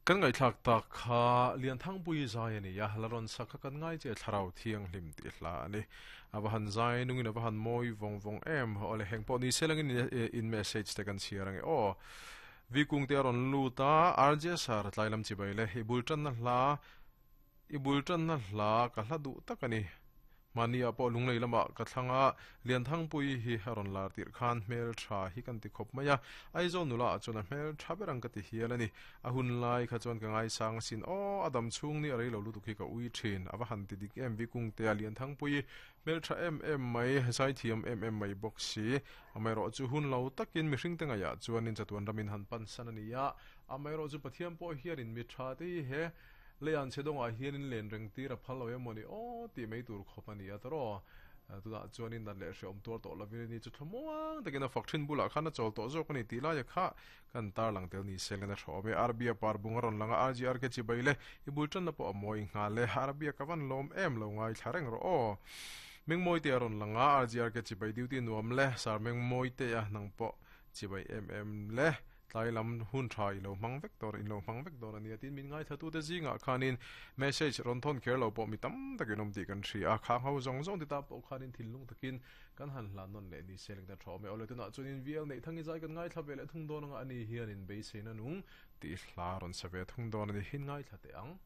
Kan ngaihthlak tak kha Lianthangpuii zai a ni a, la rawn sak kha kan ngai che Thlarau Thianghlim tih hla a ni. A va han zai nungin a va han mawi vawng vawng em. Awle heng pawh ni se langin in message te kan chhiar ange aw. Vi kung te a rawn lut a, RJ sir tlai lam chibai le, i bul tanna hla i bul tanna hla ka hla duh tak a ni. Mahni ah pawh lunglei lamah ka thlang a, Lianthangpuii hi a rawn lar tirh khan hmel tha hi kan ti khawp mai a, Aizawl nula ah chuan a hmel tha ber ang ka ti hial a ni. A hun lai kha chuan ka ngaisang asin aw, a dam chhung ni a rei lo lutuk hi ka ui thin, a va han ti dik em Vikungtea Lianthangpuii hmel tha em em mai, zaithiam em em mai bawk si. Amaherawhchu hun lo takin mihringte ngaihah chuanin chatuan ramin han pansan a ni a, amaherawhchu Pathian pawh hianin mi tha te hi he Leian chhe dawngah hianin len reng tir a phal lo em mawni aw tih mai tur khawp a ni a tawraw. Tunah chuanin nat leh hreawm tuar tawh lovin a ni chu thlamuang takin a fak thin bulah khan a chawl tawh zawk a ni tih laia kha kan tarlang tel ni sel in a hrawm e. Arbia par bung a rawn lang a, RGR ke chibai le i bul tanna pawh a mawi nghal e. Arbia ka van lawm em lo ngaithla reng rawh aw. Mengmawite a rawn lang a, RGR ke chibai duty nuam le, Sir Mengmawite a nang pawh chibai em em le. Tlai lam hun tha i lo hmang vek dawr, in lo hmang vek dawr a nia tiin min ngaithlatute zingah khanin message rawn thawn kher lo pawh mi tam takin awm tih kan hria a, khang ho zawng zawng ti ta pawh khanin thinlung takin kan han hlan nawn leh ni se leng ta tha awm e. Awle tunah chuanin VL neih thang i zai kan ngaithla ve leh thung dawn anga ani hianin beiseina nung tih hla rawn sa ve thung dawn a ni, hin ngaithla teh ang.